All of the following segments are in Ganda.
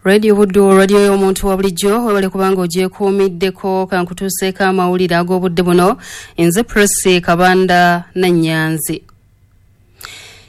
Radio Buddu, radio y'omuntu wa bulijjo, webale kubanga ogyekuumiddeko. Kankutuuseeko amawulire ag'obudde buno. Nze Prossy Kabanda Nannyanzi.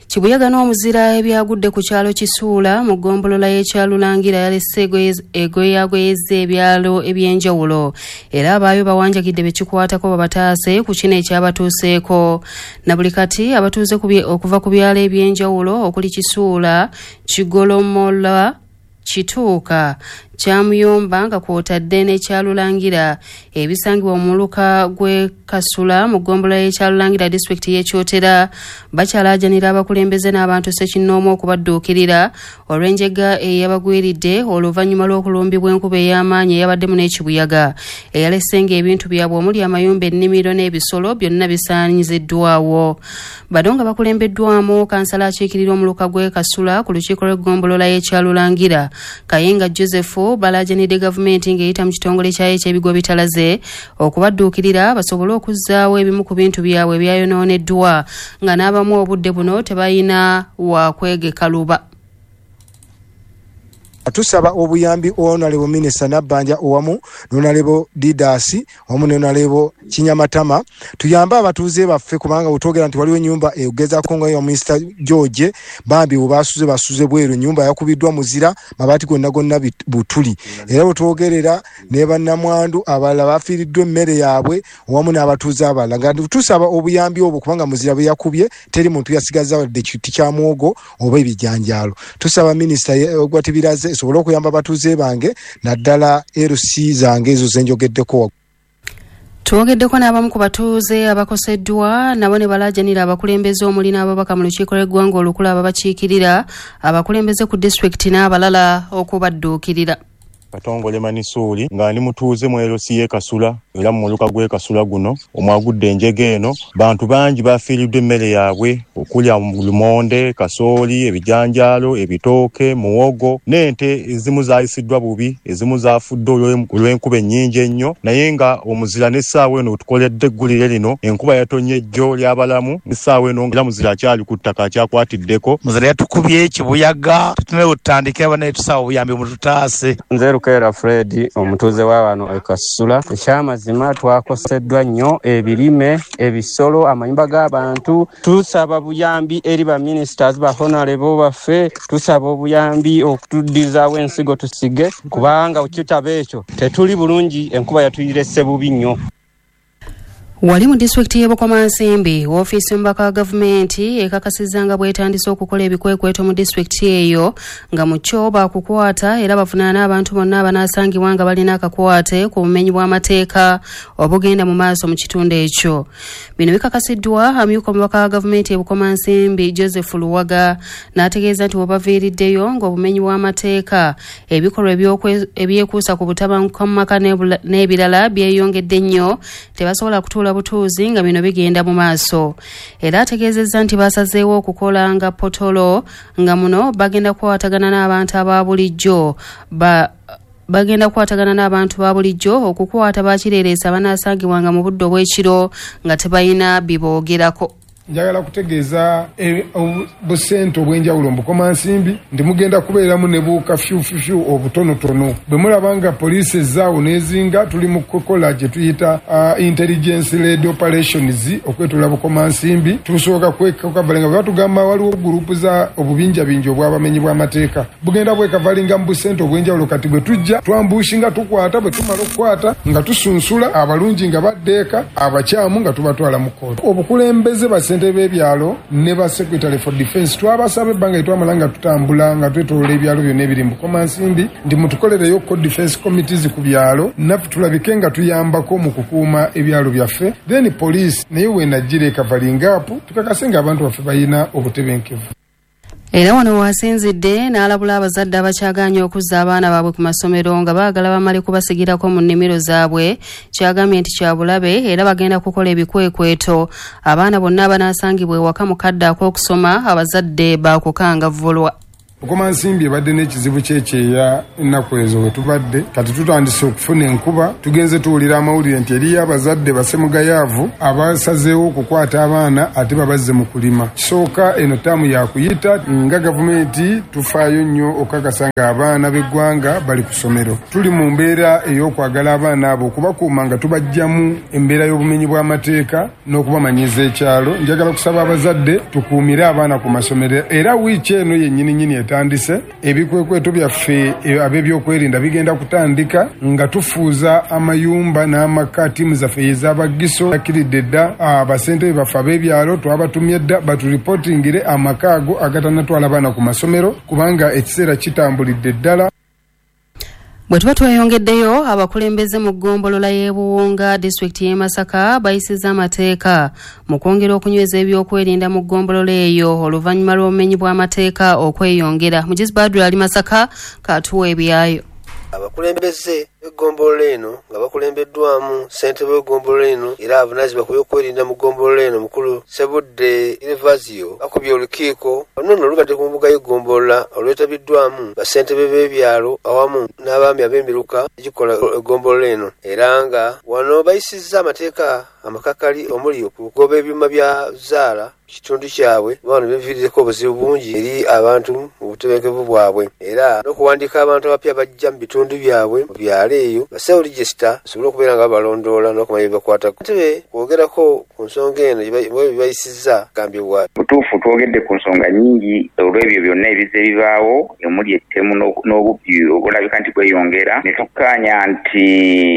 Kibuyaga n'omuzira ebyagudde ku kyalo Kisuula mu ggombolola y'Ekyalulangira yalese egoyagoyezza ebyalo eby'enjawulo, era abaayo bawanjagidde be kikwatako babataase ku kino ekyabatuuseeko. Na buli kati abatuuze okuva ku byalo eby'enjawulo okuli Kisuula, Kigolomola, Kituuka, Kyamuyumba nga kw'otadde n'Ekyalulangira ebisangibwa mu muluka gw'e Kasula mu ggombolola y'Ekyalulangira disitulikiti y'e Kyotera bakyalaajanira abakulembeze n'abantu ssekinnoomu okubadduukirira olw'enjega eyabagwiridde oluvannyuma lw'okulumbibwa enkuba ey'amaanyi eyabaddemu n'ekibuyaga eyalese ng'ebintu byabwe omuli amayumba, ennimiro n'ebisolo byonna bisaanyiziddwawo. Bano nga bakulembeddwamu kansala akiikirira omuluka gw'e Kasula ku lukiiko lw'eggombolola y'Ekyalulangira Kayinga Joseph balaajanidde gavumenti ng'eyita mu kitongole kyayo eky'ebigwa bitalaze okubadduukirira basobole okuzzaawo ebimu ku bintu byabwe ebyayonooneddwa, nga n'abamu obudde buno tebalina wa kwegeka luba. Tusaba obuyambi Honorable Minister Nabbanja owamu n'Honorable Didas wamu ne Honorable Kinyamatama, tuyambe abatuuze baffe, kubanga bwetwogera nti waliwo ennyumba egezaako nga ya Mister George, bambi bwe basuze basuze bweru, ennyumba yakubiddwa muzira, mabaati gonna gonna butuli. Era bwetwogerera ne bannamwandu abalala bafiiriddwa emmere yaabwe wamu n'abatuuze abalala, nga tusaba obuyambi obwo kubanga muzira bwe yakubye teri muntu yasigaza wadde kiti kya muwogo oba ebijanjaalo. Tusaba minisita Gwatibiraze esobole okuyamba abatuuze bange naddala LC zange ezo zenjogeddeko. Twogeddeko n'abamu ku batuuze abakoseddwa, nabo ne balaajanira abakulembeze omuli n'ababaka mu lukiiko lw'eggwanga olukulu ababakiikirira, abakulembeze ku disitulikiti n'abalala okubadduukirira. Katongole Manisuuli, nga ndi mutuuze mu LC y'e Kasula era mu muluka gw'e Kasula guno omwagudde enjega eno. Bantu bangi bafiiriddwa emmere yaabwe okulya lumonde, kasooli, ebijanjaalo, ebitooke, muwogo n'ente ezimu zaayisiddwa bubi, ezimu zaafudde olw'enkuba ennyingi ennyo. Naye nga omuzira n'essaawa eno tukoledde eggulire lino, enkuba yatonye ejjo ly'abalamu, n'essaawa eno era muzira akyali ku ttaka akyakwatiddeko. Muzira yatukubye kibuyaga, tutunewo tutandike banaye, tusaba obuyambi mututaase. Nze Lukeera Fred, omutuuze wa wano e Kasula. Ekyamazima twakoseddwa nnyo, ebirime, ebisolo, amayumba g'abantu. Tusaba buyambi eri ba ministers, ba honorable baffe, tusaba obuyambi okutuddizaawo ensigo tusige, kubanga kitaba ekyo tetuli bulungi, enkuba yatuyirese bubi nnyo. Wali mu disitulikiti y'e Bukomansimbi, woofiisi y'omubaka wa gavumenti ekakasizza nga bw'etandise okukola ebikwekweto mu disitulikiti eyo, nga mu kyo baakukwata era bavunaana abantu bonna abanaasangibwa nga balina akakwate ku bumenyi bw'amateeka obugenda mu maaso mu kitundu ekyo. Bino bikakasiddwa amyuka omubaka wa gavumenti e Bukomansimbi Joseph Luwaga, n'ategeeza nti bwebaviiriddeyo ng'obumenyi bw'amateeka, ebikolwa ebyekuusa ku butabanguka mu maka n'ebirala byeyongedde nnyo, tebasobola kutuula butuuzi nga bino bigenda mu maaso. Era ategeezezza nti basazeewo okukola nga potolo, nga muno bagenda kukwatagana n'abantu aba bulijjo bagenda kukwatagana n'abantu ba bulijjo okukwata bakireereesa abanaasangibwanga mu budde obw'ekiro nga tebalina biboogerako. Njagala kutegeeza busente obw'enjawulo mu Bukomansimbi nti mugenda kubeeramu ne bukafyufyufyu obutonotono. Bwe mulaba nga poliisi ezzaawo n'ezinga, tuli mu kukola gye tuyita intelligence led operations okwetoola Bukomansimbi. Tusooka kwekavalinga bwe batugamba waliwo gurupu za obubinjabinja obw'abamenyi bw'amateeka, bugenda bwekavalinga mu busente obw'enjawulo. Kati bwe tujja twambushinga, tukwata, bwe tumala okukwata nga tusunsula abalungi nga baddeeka, abakyamu nga tubatwala mu kkooti. Obukulembeze basente b'ebyalo ne ba secretary for defense twabasaba ebbanga lyetwamala nga tutambula nga twetoloola ebyalo byonna ebiri mu Bukomansimbi nti mutukolereyo ko defense committees ku byalo, naffe tulabike nga tuyambako mu kukuuma ebyalo byaffe. Then police naye wenajjira ekavalinga apu, tukakase nga abantu baffe balina obutebenkevu. Era wano wasinzidde n'alabula abazadde abakyagaanye okuzza abaana baabwe ku masomero nga baagala bamale kubasigirako mu nnimiro zaabwe, kyagambye nti kya bulabe era bagenda kukola ebikwekweto. Abaana bonna abanaasangibwa ewaka mu kadde ak'okusoma, abazadde baakukangavvulwa. Bukomansimbi ebadde n'ekizibu ky'ekyeya ennaku ezo we tubadde, kati tutandise okufuna enkuba, tugenze tuwulira amawulire nti eriyo abazadde basemugayaavu abasazeewo okukwata abaana ate babazze mu kulima. Kisooka eno ttaamu yakuyita nga gavumenti tufaayo nnyo okukakasa ng'abaana b'eggwanga bali ku ssomero. Tuli mu mbeera ey'okwagala abaana abo okubakuuma nga tubaggyamu embeera y'obumenyi bw'amateeka n'okubamanyiza ekyalo. Njagala kusaba abazadde tukuumire abaana ku masomero, era wiiki eno yennyininyini etandise ebikwekweto byaffe ab'ebyokwerinda bigenda kutandika nga tufuuza amayumba n'amaka. Ttiimu zaffe ez'abagiso akiridde dda, abasentebe baffe ab'ebyalo twabatumye dda baturipotingire amaka ago agatanatwala abaana ku masomero, kubanga ekiseera kitambulidde ddala. Bwe tuba tweyongeddeyo, abakulembeze mu ggombolola y'e Buwunga disitulikiti y'e Masaka bayisizza amateeka mu kwongera okunyweza ebyokwerinda mu ggombolola eyo oluvannyuma lw'obumenyi bw'amateeka okweyongera. Mugizi Badru ali Masaka katuwa ebyayo. Abakulembeze b'eggombolola eno nga bakulembeddwamu ssentebe w'eggombolola eno era avunaanyizibwa ku byokwerinda mu ggombolola eno mukulu Sebudde Gervasio bakubye olukiiko luno nno lubadde ku mbuga y'eggombolola olwetabiddwamu bassentebe b'ebyalo awamu n'abaami ab'emiruka egikola eggombolola eno, era nga wano bayisizza amateeka amakakali omuli okugoba ebyuma bya zzaala kitundu kyabwe bano biviiriddeko obuzibu bungi eri abantu mu butebenkevu bwabwe, era n'okuwandiika abantu abapya bajja mu bitundu byabwe mu byalo eyo basewo register basobole okubeera nga babalondoola n'okumanya ebibakwatako. Ssentebe kwogerako ku nsonga eno bwe bayisizza gambibwa butuufu twogedde ku nsonga nnyingi olw'ebyo byonna ebizze bibaawo omuli ettemu n'obubbi obulabika nti bweyongera, ne tukkaanya nti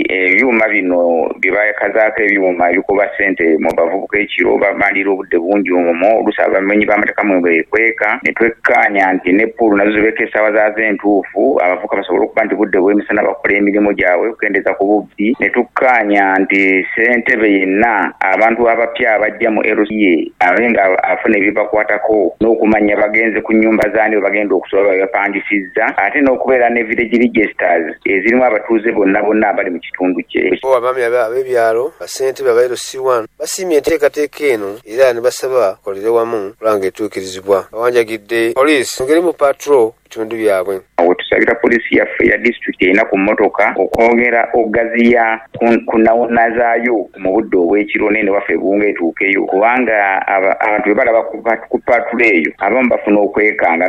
ebyuma bino bye bakazaako ebyuma ebikuba ssente mu bavubuka ekiro bamalira obudde bungi omwo oluusi abamenyi b'amateeka mwe beekweka, ne twekkaanya nti ne ppuulu nazo zibeeko essaawa zaazo entuufu abavubuka basobole okuba nti budde bw'emisana bakola emirimu gyabwe okukendeeza ku bubbi, ne tukkaanya nti ssentebe yenna abantu abapya abajja mu LCA abe nga afuna ebibakwatako n'okumanya bagenze ku nnyumba zaani we bagenda okusula babe bapangisizza, ate n'okubeera ne village registers ezirimu abatuuze bonna bonna abali mu kitundu kye. Bo abaami ab'ebyalo bassentebe aba LC1 basiimye enteekateeka eno era ne basaba bakolere wamu okulaba ng'etuukirizibwa. Bawanjagidde poliisi ngeri mu patrol bitundu byabwe. Wetusabira poliisi yaffe ya disitulikiti erina ku mmotoka okwongera okugaziya ku nawona zaayo mu budde obw'ekiro nene waffe Buwunga etuukeyo, kubanga abantu bwe balaba ku patrol eyo abamu bafuna okwekanga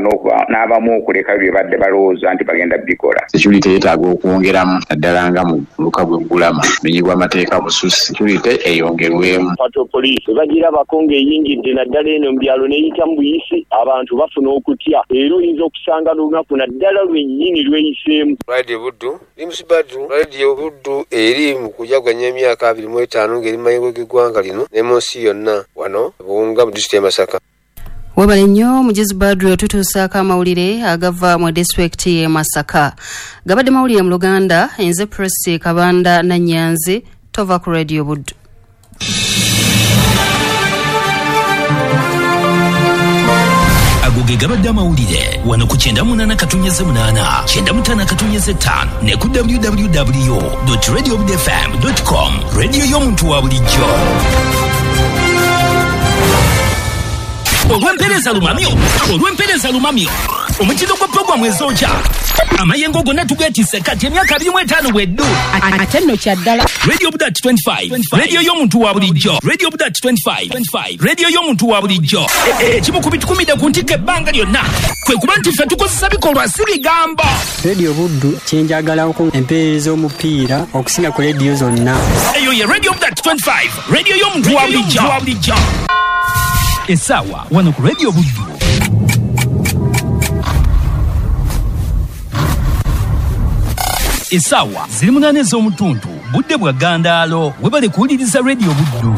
n'abamu okuleka bye badde balowooza nti bagenda bikola. Security yeetaaga okwongeramu naddala nga mu muluka gw'eggulama bumenyi bw'amateeka bususse, security eyongerwemu. Patrol police bwe bagirabako ng'eyingidde naddala eno mu byalo n'eyita mu buyisi, abantu bafuna okutya era oyinza okusanga n'olunaku naddala lwennyini lweyiseemu. Radio Buddu Limus Badru, Radio Buddu eri mu kujaganya emyaka 25 ng'eri mu mayengo g'eggwanga lino ne mu nsi yonna wano Buwunga mu disitulikiti y'e Masaka. Webale nnyo Mugizi Badru, tutuusaako amawulire agava mu disitulikiti y'e Masaka. Gabadde mawulire mu Luganda, nze Prossy Kabanda Nannyanzi, tova ku Radio Buddu. Ago ge gabadde amawulire wano ku 98.8 95.5 ne ku www.radiobudfm.com, radio y'omuntu wa bulijjo. Olw'empeereza lumamyo omutindo gwa pulogulaamu ezokya amayengo gonna tugeetisse kati emyaka 25 bweddu ate nno kya ddala. Radio Budat 25, radio y'omuntu wa bulijjo. Radio Budat 25, radio y'omuntu wa bulijjo. Ekimu ku bitukumidde ku ntikko ebbanga lyonna kwe kuba nti ffe tukozesa bikolwa si bigambo. Radio Buddu kyenjagalako empeereza omupiira okusinga ku rediyo zonna. Eyo ye Radio Budat 25, radio y'omuntu wa bulijjo. Essaawa wano ku Radio Buddu essaawa ziri 8 ez'omutuntu, budde bwa ggandaalo. Webale kuwuliriza Radio Buddu.